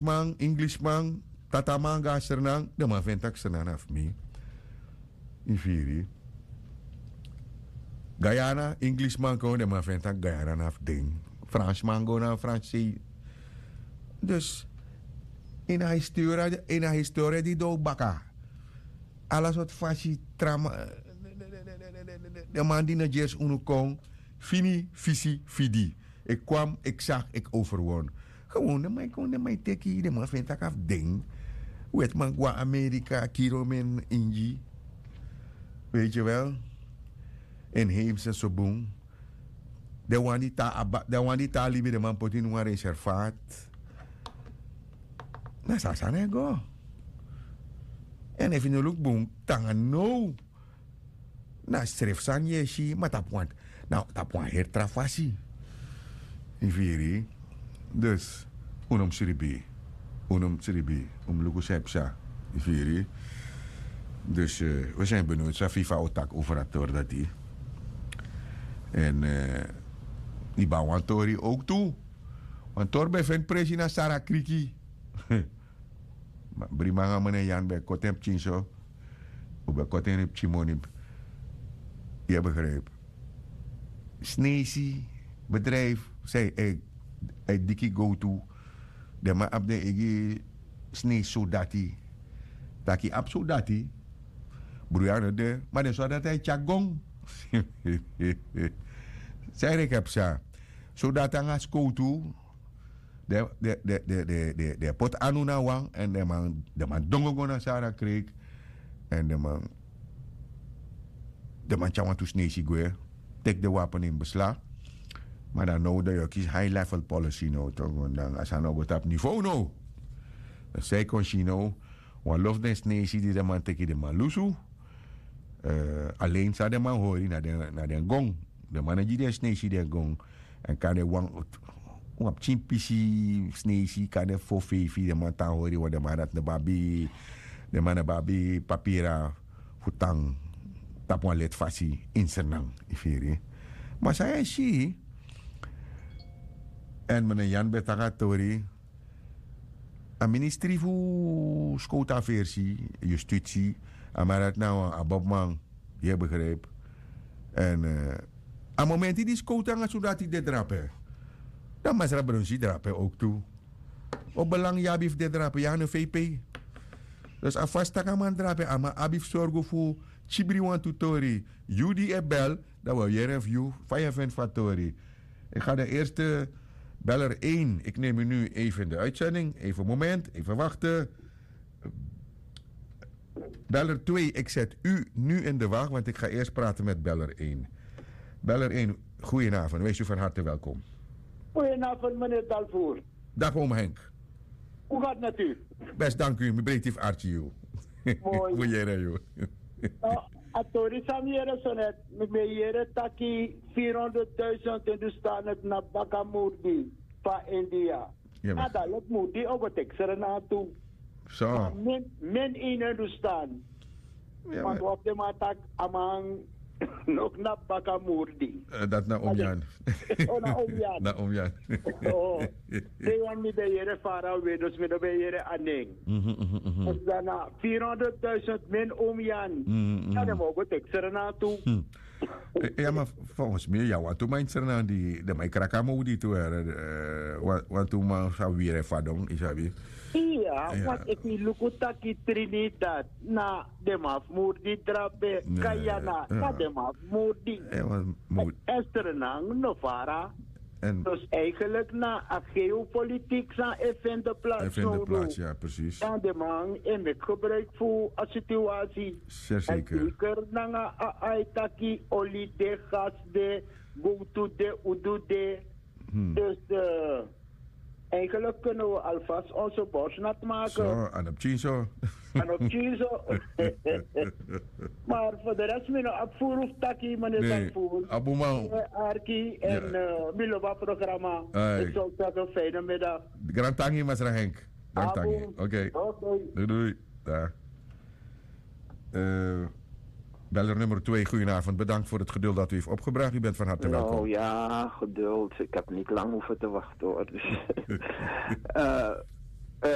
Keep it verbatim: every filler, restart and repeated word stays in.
Fransman, Inglishman, tataman go na Sranan, den man feni tak' Sranan na fu mi. Yu firi? Guyana, Inglishman kon, den man feni tak' Guyana na fu den. Fransman go na Fransei. Dus ini a historia, ini a historia di dow baka, ala sortu fasi tra man, den man di no gersi unu kon, fini, fisi, fidi. Ik kwam, ik zag, ik overwon. Gewoon den man e kon, den man e teki, den man feni tak' a fu den. Wetiman go na Amerika, kiri omen Ingi. Weet je wel? Inheemse so bun. Den wan di tan a ba, den wan di tan a libi, den man poti ini wan reservaat. Na so a sani e go. Èn efu yu no luku bun, te nanga now, na srefi sani yu e si, ma tapu wan, na tapu wan heri tra fasi. Yu firi? Dus un no mus ribi. Un no mus ribi. Un mus luku san e psa. Yu firi? Dus we zijn benieuwd san FIFA o taki over a tori dati. Èn yu ben abi wan tori ook tu. Wan tori ben feni presi na Sara Kriki. Ma Brimanga, meneer Jan ben koti en pikin so. Un ben koti en pikin moni. Yu e begrijp. Snesi bedrijf, san e, e diki gowtu. Den man abi den eigi snesi sodati. Taki abi sodati. Bruya no de, ma den sodati e tyari gong. San e reki psa? Sodati nanga skowtu. Den, den, den, den, den, den, den poti anu na wan, èn den man, den man dongo go na Sara Kreek. Èn den man, den man tyari wantu snesi gwe, teki den wapen in beslag. Ma dan now dan yu o kisi high level policy now toch, want dan a sani no go tapu niveau now. Dan san yu kon si now, wan lo fu den snesi di den man teki, den man lusu. Eh, alleen san den man hori na den, na den gong. Den man e gi den snesi den gong. Èn kande wan, wan pikin pisi snesi, kande fo feifi, den man tan hori, want den man dati no ben abi, den man no ben abi papira fu tan tapu wan leti fasi ini Sranan, yu firi. Ma san yu e si, èn meneer Jan ben taki a tori, a ministri fu skowtu afersi, yustitsi, a man dati na wan aboboman, yu e begrijp. Èn eh, a momenti di skowtu nanga sodati de drape, dan masra Brunsi drape ook tu. O belang yu abi fu de drape, yu a no V P. Dus a fasi tak' a man drape, a man abi fu sorgu fu kibri wantu tori. Yu di e bel, dan wi o yere fu yu fa yu e feni fu a tori. Ik ga de eerste beller één. Ik neem u nu even in de uitzending. Even een moment. Even wachten. Beller twee, ik zet u nu in de wacht, want ik ga eerst praten met beller één. Beller één, goedenavond. Wees u van harte welkom. Goedenavond, meneer Dalvoer. Dag, oom Henk. Hoe gaat het met u? Best, dank u. Mi breiti fu arki yu. Mooi. Wi yere yu. No, a tori san mi yere so net, mi ben yere taki vierhonderdduizend Hindustanen knapu baka murdi van India. A dati leki murdi o go teki Sranan tu. So. Ma min, min ini Hindustan. Want wan fu den man taki a man no knapu baka murdi. Dati na omi Jan. O, na omi Jan. Na omi Jan. O, te wan mi ben yere fara we, dus mi no ben yere a nen. Dus dan na vierhonderdduizend min omi Jan. Dan den man o go teki Sranan tu. Ya, ma volgens mi ya wantu man ini Sranan di den man e kraki a murdi tu, wantu man sa wiri fadon, yu sabi. Iya, want efu yu luku taki Trinidad na den man fu murdi drape, Guyana na den man fu murdi. Èn Sranan no fara. Dus eigenlijk na a geopolitiek san e fende plaats. Dan den man e meki gebruik fu a situatie. Zeker nanga a, a e taki oli de, gas de, gowtu de, udu de. Dus eigenlijk kunnen we alvast onze borst nat maken. So, a no pikin so. A no pikin so. Maar voor de rest, mi no abi furu fu taki, meneer Sanfur. Abuman. Arki en mi lobi a programma. Ik zou zeggen, fijne middag. Grantangi, masra Henk. Grantangi. Oké. Doei, doei. Beller nummer twee, goedenavond. Bedankt voor het geduld dat u heeft opgebracht. U bent van harte welkom. Nou ja, geduld. Ik heb niet lang hoeven te wachten, hoor. Dus, eh,